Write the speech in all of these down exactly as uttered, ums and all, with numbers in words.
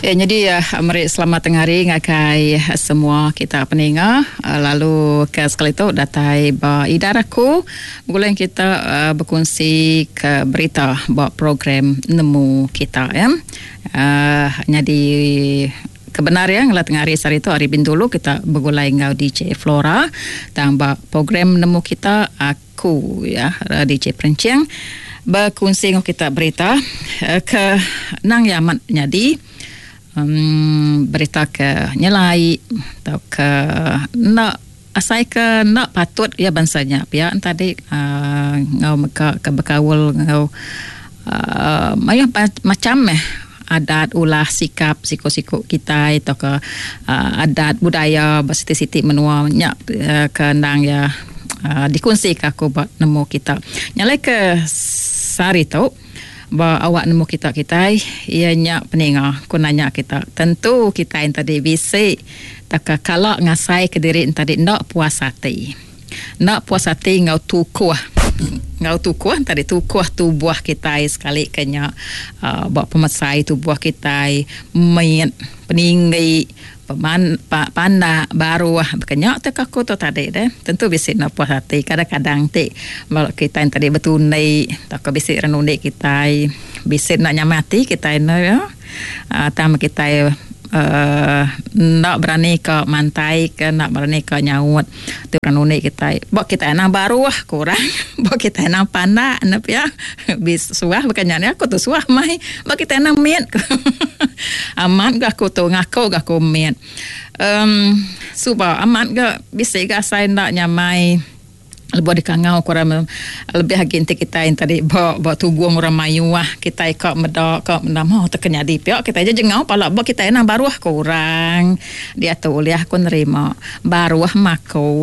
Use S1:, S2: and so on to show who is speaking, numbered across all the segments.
S1: Eh, jadi uh, meri selamat tengah hari ngagai semua kita peninga. Uh, lalu ke sekali tu datai ba idar aku begulai kita uh, berkongsi ke berita ba program Nemu Kita ya. Uh, jadi kebenar ya ngela tengah hari sehari tu hari Bintulu kita begulai enggau D J Flora tang ba program Nemu Kita aku ya D J Perencing berkongsi enggau kita berita uh, ke nang yamat nyadi Um, berita ke nyelai atau ke nak asai ke nak patut ya bangsanya pia tadi uh, ngau meka ke berkaul ngau uh, mayuh macam eh adat ulah sikap siko-siko kita atau ke uh, adat budaya bersiti-siti menua nya uh, ke ndang ya uh, dikongsi ke aku buat nemu kita. Nyalai ke sehari tu ba awak nemu kita kita ia nya peninga ku nanya kita tentu kita yang tadi bisi tak kala ngasai ke diri tadi ndak puas hati ndak puas hati ngau tukuh ngau tukuh tadi tukuh tubuh kita sekali kenya uh, ba pemesai tubuh kita mit peninggi peman pa, pandak baru bekenya tak aku tu tadi deh tentu bisi nak puas hati kadang-kadang ti kalau kita yang tadi bertunai tak bisi renundi kita bisi nak nyamati kita no ya uh, tam kita uh, nak berani ke mantai ke nak berani ke nyaut tu renundi kita bok kita nak baru kurang bok kita nak pandak nak ya bis suah bekenya ni aku tu suah mai bok kita nak mit amat gak aku tu ngaku gak aku mit um suba amat gak bisi gak saya nak nyamai lebih dikangau kurang lebih lagi enti kita yang tadi bawa bawa tuguang orang mayuah kita ikak medak kak mendam oh terkena di pihak kita aja jengau pala bawa kita nak baruah kurang dia tu boleh aku nerima baruah maku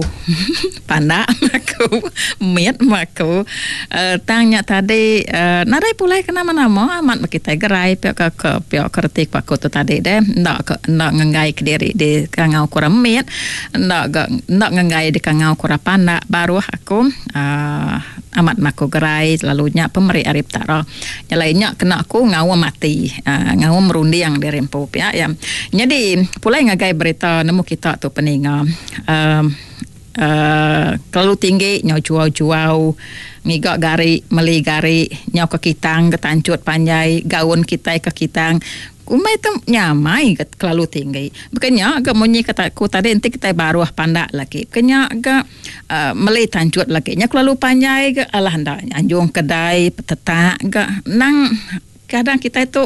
S1: pandak maku mit maku uh, tanya tadi uh, narai pulai kena mana-mana amat kita gerai pihak ke, ke pihak kertik aku tu tadi deh ndak ndak ngenggai ke diri di kangau kurang mit ndak ndak ngenggai di kangau kurang pandak baruah aku uh, amat maku gerai selalunya pemeri arif tara nyalainya kena aku ngau mati uh, ngau merundiang di rempu ya ya jadi pulai ngagai berita nemu kita tu peninga uh, uh, kalau tinggi nyau juau-juau ngigak gari meli gari nyau ke kitang ke tancut panjai gaun kita ke kitang kumai tu nyamai ke terlalu tinggi. Bukannya agak munyi kata aku tadi nanti kita baru pandak lagi. Bukannya agak uh, meli tancut lagi. Nya terlalu panjai ke alah ndak anjung kedai petetak ke nang kadang kita itu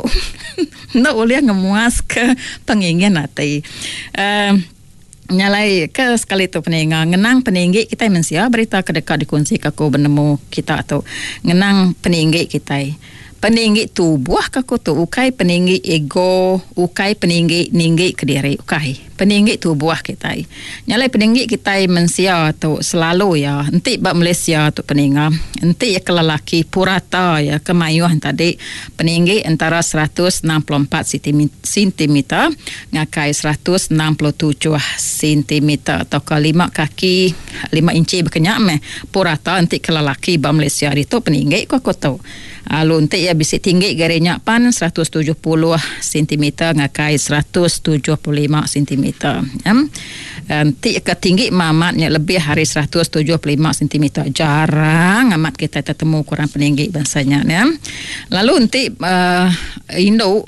S1: ndak boleh ngemuas ke pengingin hati. Uh, nyalai ke sekali tu peninga ngenang peninggi kita mensia berita kedekat dikongsi ke aku benemu kita tu ngenang peninggi kita. Peninggi tubuh ke aku tu ukai peninggi ego ukai peninggi ninggi ke diri ukai peninggi tubuh kita nyalai peninggi kita mensia tu selalu ya enti ba Malaysia tu peninga enti ya ke lelaki purata ya kemayuhan tadi peninggi antara seratus enam puluh empat sentimeter ngakai seratus enam puluh tujuh sentimeter atau ke lima kaki lima inci berkenyak meh purata enti ke lelaki ba Malaysia itu peninggi ku aku tu. Lalu enti ya bisi tinggi garinya pan seratus tujuh puluh sentimeter ngakai seratus tujuh puluh lima sentimeter. Ya. Enti ke tinggi mamatnya lebih hari seratus tujuh puluh lima sentimeter. Jarang amat kita tertemu kurang peninggi bangsanya ya. Lalu enti uh, induk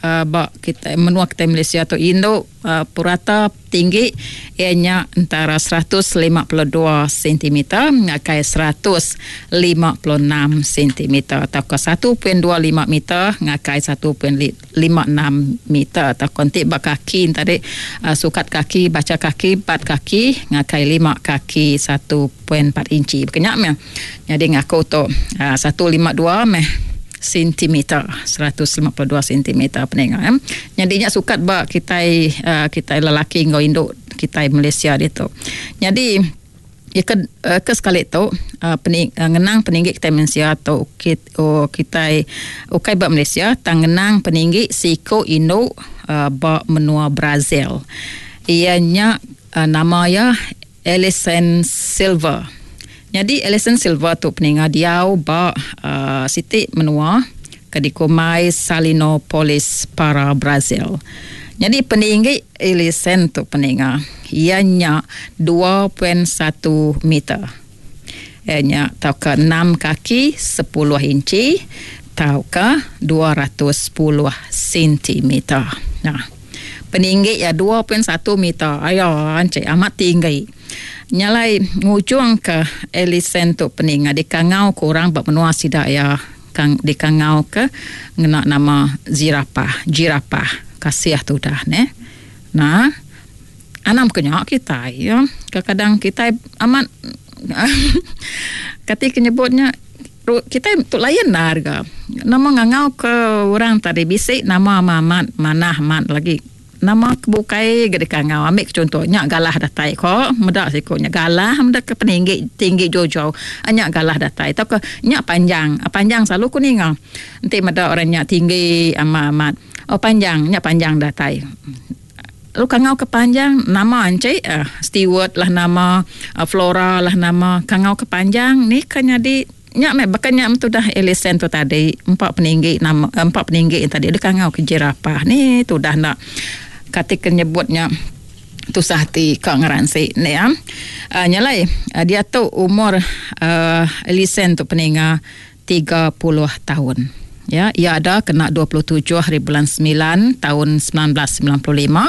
S1: uh, bak kita menua kita Malaysia tu induk uh, purata tinggi ianya antara seratus lima puluh dua sentimeter ngakai seratus lima puluh enam sentimeter atau ke satu perpuluhan dua lima meter ngakai satu perpuluhan lima enam meter atau kontik bak kaki tadi uh, sukat kaki baca kaki empat kaki ngakai lima kaki satu perpuluhan empat inci berkenyak meh. Jadi ngaku tu uh, seratus lima puluh dua meh sentimeter seratus lima puluh dua sentimeter peninga eh. Jadinya sukat ba kita uh, kita lelaki ngau induk kita Malaysia dia tu. Jadi ya ke, uh, ke sekali tu uh, pening, uh, ngenang peninggi kita Malaysia tu kita oh, kita ukai ba Malaysia tang ngenang peninggi siko induk uh, ba menua Brazil. Ianya uh, nama ya Alison Silver. Jadi Alison Silver tu peninga diau ba uh, siti menua ke ke dikumbai Salinopolis para Brazil. Jadi peninggi Elisen tu peninga iya nya dua titik satu meter. Iya nya tauka enam kaki sepuluh inci tauka dua ratus sepuluh sentimeter. Nah, peninggi ya dua titik satu meter. Ayo encik amat tinggi. Nyalai ngujung ke Elisen tu peninga dikangau kurang bab menua sida ya kang dikangau ke ngena nama zirapah, jirapah. Kasih tu dah ne. Nah, anam kenya kita ya. Kadang-kadang kita amat ketika nyebutnya kita tu lain lah harga. Nama ngangau ke orang tadi bisik nama amat manah amat lagi. Nama kebukai ge dikangau. Ambil contohnya galah datai ko medak sikonya galah medak ke peninggi tinggi jauh-jauh. Anya galah datai atau ke nya panjang. Panjang selalu ku ninga. Enti medak orang nya tinggi amat-amat. Oh panjang, nya panjang datai. Lalu kangau ke panjang nama encik uh, Stewart lah nama, uh, Flora lah nama. Kangau ke panjang ni kan jadi nya meh bakanya tu dah Elisen tu tadi empat peninggi nama empat peninggi yang tadi dia kangau ke jerapah ni tu dah nak ketika nyebutnya tusah hati ka ngeransi ni ya. Uh, nyalai uh, dia tu umur uh, Elisen tu peninga tiga puluh tahun. Ya, ia ada kena dua puluh tujuh hari bulan sembilan tahun sembilan belas sembilan puluh lima.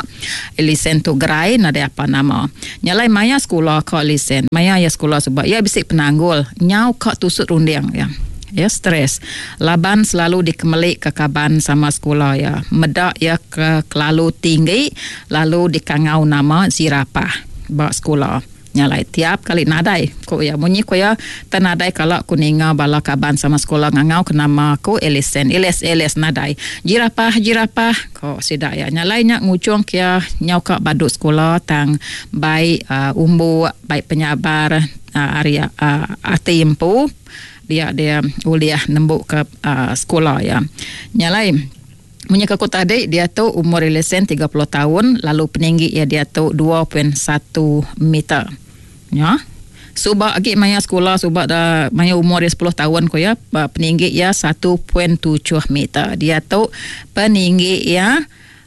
S1: Elisen tu gerai nadai apa nama. Nyalai maya sekolah ka Elisen. Maya ya sekolah sebab ia bisik penanggul nyau ka tusut runding ya. Ya stres. Laban selalu dikemelik ke kaban sama sekolah ya. Medak ya ke kelalu tinggi lalu dikangau nama zirapah ba sekolah. Nyalai tiap kali nadai ko ya munyi ko ya tenadai kalau ku ninga bala kaban sama sekolah ngangau ke nama aku Elisen Elis Elis nadai jirapah jirapah ko sida ya nyalai nya ngujung kia nyau ka baduk sekolah tang baik uh, umbu baik penyabar uh, area uh, ati empu dia dia uliah nembuk ke uh, sekolah ya nyalai munyi aku tadi dia tu umur Elisen tiga puluh tahun lalu peninggi ya dia tu dua titik satu meter. Ya. Subak agi maya sekolah subak dah maya umur dia sepuluh tahun ko ya peninggi ya satu titik tujuh meter. Dia tu peninggi ya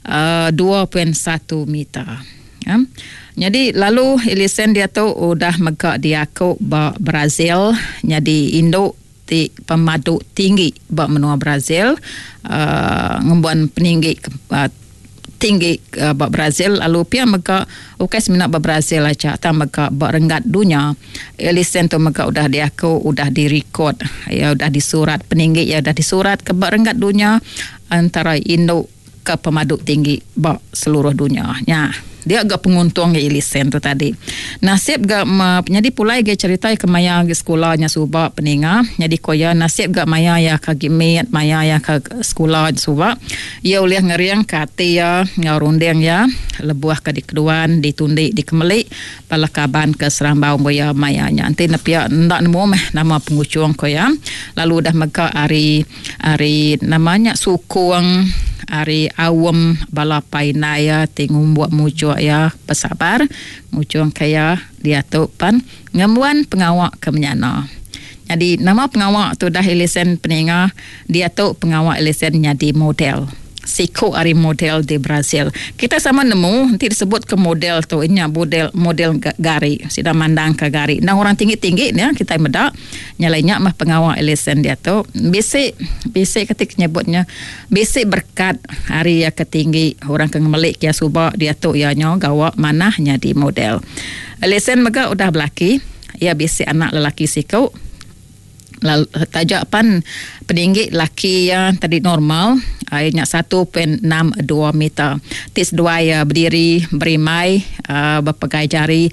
S1: uh, dua titik satu meter. Ya. Jadi lalu Elisen dia tu udah megak diaku ba Brazil jadi induk ti pemadu tinggi ba menua Brazil uh, ngembuan peninggi uh, tinggi uh, ba Brazil lalu pia mega ukai semina ba Brazil aja tang mega ba renggat dunia Elisen tu mega udah diaku udah direkod ya udah disurat peninggi ya udah disurat ke ba renggat dunia antara induk ke pemadu tinggi ba seluruh dunia nya. Dia agak penguntung ke Elisen tu tadi. Nasib gak ma, jadi pulai ge cerita ke maya ge sekolahnya subak peninga. Jadi koya nasib gak maya ya ka gimit maya ya ka sekolah subak. Ia ulih ngeriang ke hati ya ngau runding ya lebuah ke dikeduan ditundi dikemelik bala kaban ke serambau goya maya nya. Nanti nepia ndak nemu meh nama pengucung koya. Lalu dah mega hari hari namanya sukung hari awam bala painaya ti ngumbuak mujuk ya bersabar ngujung kaya dia tu pan ngembuan pengawak ke menyana. Jadi nama pengawak tu dah Elisen peninga dia tu pengawak Elisen jadi model. Siku ari model di Brazil. Kita sama nemu nanti disebut ke model tu inya model model gari sida mandang ke gari. Nah orang tinggi-tinggi ni kita medak nyalainya mah pengawak Elisen dia tu bisik bisik ketik nyebutnya bisik berkat hari ya ketinggi orang ke ngemelik kia subak dia tu ya nyo gawak manah nyadi model. Elisen mega udah belaki ya bisik anak lelaki siku. Lalu tajak pan peninggi laki ya tadi normal airnya satu titik enam dua meter. Tis dua ya berdiri berimai uh, berpegai jari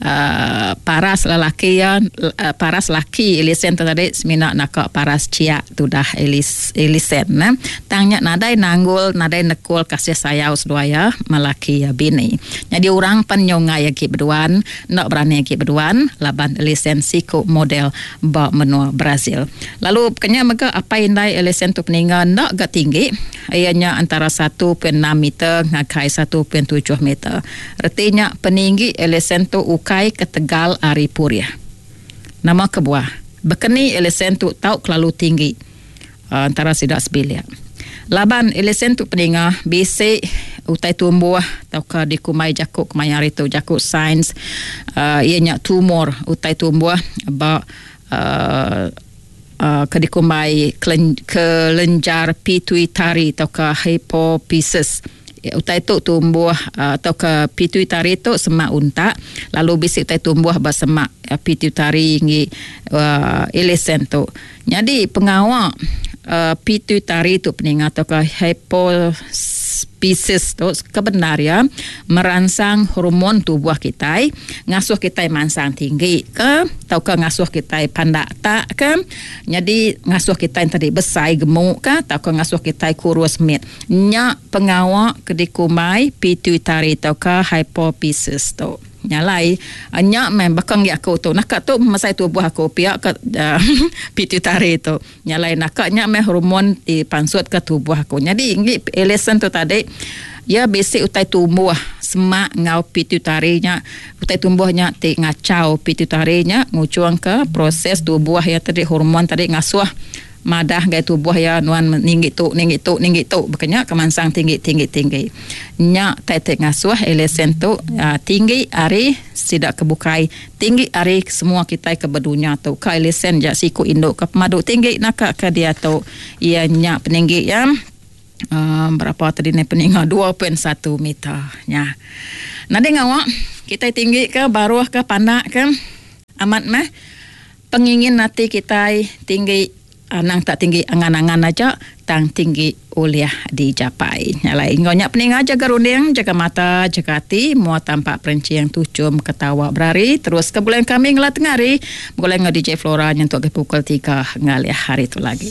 S1: uh, paras lelaki ya uh, paras laki Elisen tadi semina nak paras ciak tu dah Elis Elisen nah. Tangnya nadai nanggul nadai nekul kasih sayau sedua ya melaki ya bini. Jadi orang pan nyongai ya ki berduan nak berani ki berduan laban Elisen siku model ba menua Brazil. Lalu kenya mega apa indai Elisen tu peninggal nak gak tinggi ianya antara satu titik enam meter ngakai satu titik tujuh meter. Artinya peninggi Elisen tu ukai ke Tegal ari Puriah. Nama kebuah. Bekeni Elisen tu tau kelalu tinggi. uh, antara sida sebilik. Laban Elisen tu peninga bisi utai tumbuh tauka dikumbai jaku kemaya hari tu jaku sains uh, iya nya tumor utai tumbuh ba uh, uh, ke dikumbai kelenjar pituitari tauka hypophysis. Utai tu tumbuh uh, tauka pituitari tu semak untak, lalu bisi utai tumbuh ba semak uh, pituitari ngi uh, Elisen tu. Jadi pengawa Uh, pituitari tu peninga atau ke hypophysis tu kebenar ya merangsang hormon tubuh kita, ngasuh kita mansang tinggi ke atau ke ngasuh kita pandak tak ke, jadi ngasuh kita tadi besar gemuk ke atau ke ngasuh kita kurus mit. Nya pengawa ke dikumbai pituitari atau ke hypophysis tu. Nyalai nya meh bakang gi aku tu nak tu masai tubuh aku pia ke uh, pituitari tu. Nyalai nak nya meh hormon dipansut ke tubuh aku. Jadi ngi Elisen tu tadi ya bisi utai tumbuh semak ngau pituitari nya, utai tumbuhnya ti ngacau pituitari nya ngucuang ke proses tubuh ya tadi hormon tadi ngasuh madah gai tubuh ya nuan ninggi tu ninggi tu ninggi tu bekenya kemansang tinggi tinggi tinggi. Nya tai te ngasuh Elisen tu uh, tinggi ari sidak kebukai, tinggi ari semua kita ke berdunia tu. Ka Elisen ja siku induk ke pemadu tinggi naka ke dia tu. Ia nya peninggi ya uh, berapa tadi ni peninggi dua perpuluhan satu meter nya. Nadi ngawak kita tinggi ke baruh ke pandak ke amat meh pengingin hati kita tinggi. Anang tak tinggi angan-angan aja, tang tinggi uliah dijapai. Nyalai ngonya peninga jaga runding, jaga mata, jaga hati, mua tampak perencing tucum ketawa berari. Terus ke bulan kami ngelah tengah hari, bulan ngau D J Flora nyentuk ke pukul tiga ngalih hari tu lagi.